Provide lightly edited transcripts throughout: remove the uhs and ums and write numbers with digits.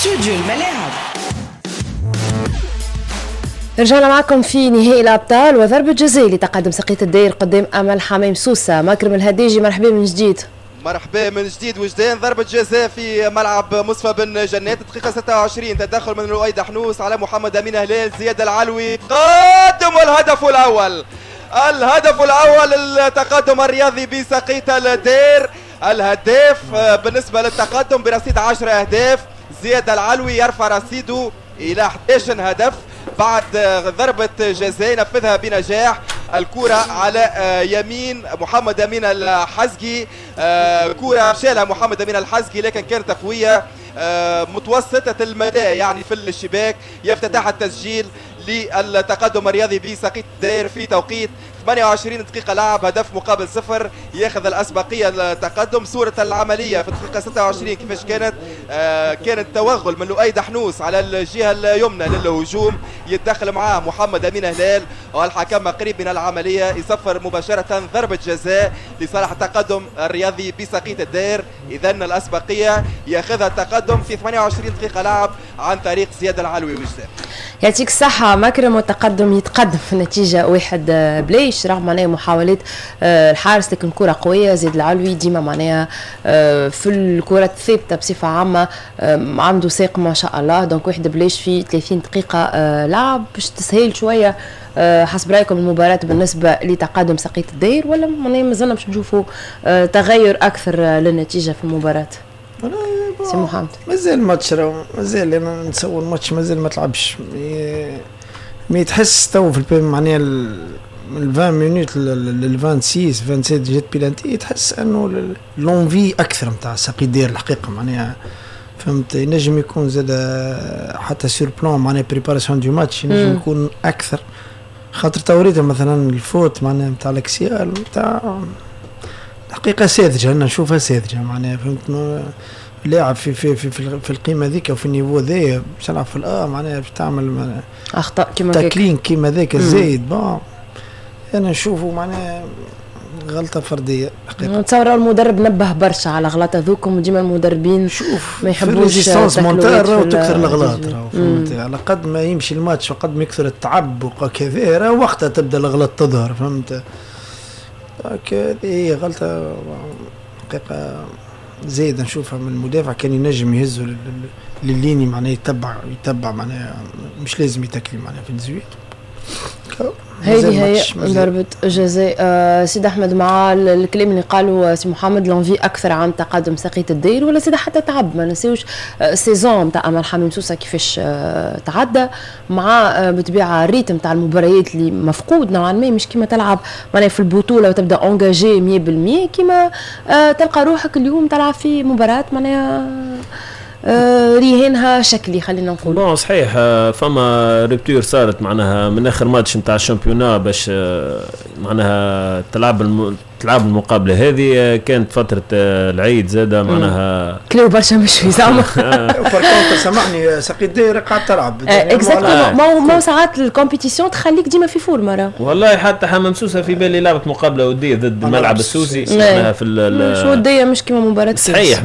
استوديو الملاعب. رجعنا معكم في نهائي الابطال وضربه جزاء لتقدم سقية الدير قدام امل حمام سوسه. مكرم الهديجي، مرحبا من جديد. مرحبا من جديد وجدان. ضربة جزاء في ملعب مصطفى بن جنات، دقيقة 26، تدخل من لؤي دحنوس على محمد أمين هلال، زياد العلوي قدم الهدف الأول، الهدف الأول للتقدم الرياضي بسقية الدير. الهداف بالنسبة للتقدم برصيد 10 أهداف زياد العلوي، يرفع رصيده إلى 11 هدف بعد ضربة جزاء نفذها بنجاح. الكرة على يمين محمد أمين الحزقي، كرة شالها محمد أمين الحزقي لكن كانت قوية متوسطة المدى يعني في الشباك. يفتتح التسجيل للتقدم الرياضي بسقية الدير في توقيت 28 دقيقة لعب، هدف مقابل صفر، ياخذ الأسبقية التقدم. صورة العملية في الدقيقة 26 كيفاش كانت؟ كانت توغل من لؤي دحنوس على الجهة اليمنى للهجوم، يتدخل معاه محمد أمين هلال والحكم قريب من العملية يصفر مباشرة ضربة جزاء لصالح التقدم الرياضي بسقية الدير. إذا الأسبقية ياخذها التقدم في 28 دقيقة لعب عن طريق زياد العلوي وجدان. يعطيك الصحة مكرم، والتقدم يتقدم في النتيجة 1-0 رغم معناها محاولات الحارس، لكن كرة قوية. زياد العلوي ديما معناها في الكرة الثابتة بصفة عامة عنده ساق ما شاء الله. donc 1-0 في 30 دقيقة لعب باش تسهيل شوية حسب رايكم المباراة بالنسبة لتقدم سقية الدير، ولا معناها مازلنا باش نشوفوا تغير أكثر للنتيجة في المباراة؟ سي محمد. مازال الماتش، مازال انا نتصور الماتش مازال ما تلعبش، mais تحس تو في معناها من 20 minutes لل 26 27 جات بيلانتي، تحس انه l'envie اكثر نتاع ساقي دير الحقيقه. معناها فهمت، ينجم يكون زاد حتى sur plan معناها préparation du match ينجم يكون اكثر، خاطر توريته مثلا ال faute معناها نتاع l'axial نتاع الحقيقة ساذجه، انا نشوفها ساذجة معناها فهمت، لاعب في القيمة ذيك وفي ال niveau ذا باش تلعب في الاه معناها باش تعمل اخطاء كيما tackling كيما ذاك الزايد. bon انا نشوفه معناها غلطه فردية. حقيقة نتصور المدرب نبه برشا على غلطه ذوكم، وديما المدربين شوف ما يحبوش résistance mentale راهو تكثر الاغلاط راهو فهمت، على قد ما يمشي الماتش وقد ما يكثر التعب وكذا راه وقتها تبدا الاغلاط تظهر فهمت. هذه هي غلطه حقيقة زايد نشوفها من المدافع، كان ينجم يهزه لل ligne معناها يتبع معناها مش لازم يتكلي معناها في ال dix-huit. هذه هي ضربة جزاء. سيد أحمد، مع الكلام اللي قالوا سي محمد، l'envie أكثر عن تقدم سقية الدير ولا سيد حتى تعب؟ ما نسيوش saison نتاع أمل حمام سوسة كيفاش تعدى مع بطبيعة ال rythme تاع المباريات اللي مفقود نوعا ما، مش كيما تلعب معناها في البطولة وتبدا engagé 100% كيما تلقى روحك اليوم تلعب في مباراة معناها رهانها شكلي خلينا نقول. bon صحيح، فما rupture صارت معناها من اخر ماتش نتاع ال championnat باش معناها تلعب المقابلة هذه، كانت فترة العيد زاده معناها. كلو برشا مشوي زعما. par contre سامحني، ساقي الدايرة قاعد تلعب. exactement، ما ساعات ال compétition تخليك ديما في forme راه. والله حتى حمام سوسة في بالي لعبت مقابله وديه ضد الملعب السوسي معناها في مش وديه، مش كيما مباراة. صحيح،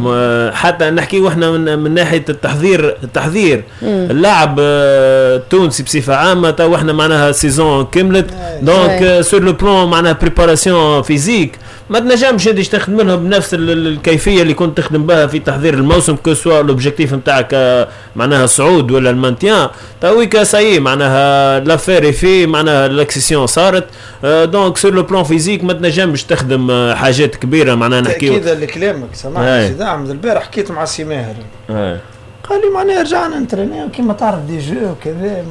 حتى نحكي احنا من ناحية التحضير اللاعب التونسي بصفة عامه، تو احنا معناها saison كملت، donc sur le plan معناها préparation physique ما تنجمش انت تخدم لهم بنفس الكيفية اللي كنت تخدم بها في تحضير الموسم، que ce soit l'objectif نتاعك معناها الصعود ولا ال maintien. تويكا ça y est معناها l'affaire في معناها l'accession صارت، donc sur le plan physique ما تنجمش تخدم حاجات كبيرة معناها نحكيو. تاكيدا لكلامك سامحني سيدي احمد، البارح حكيت مع سي ماهر، قال لي معناها رجعنا نترينيو كيما تعرف des jeux وكذا.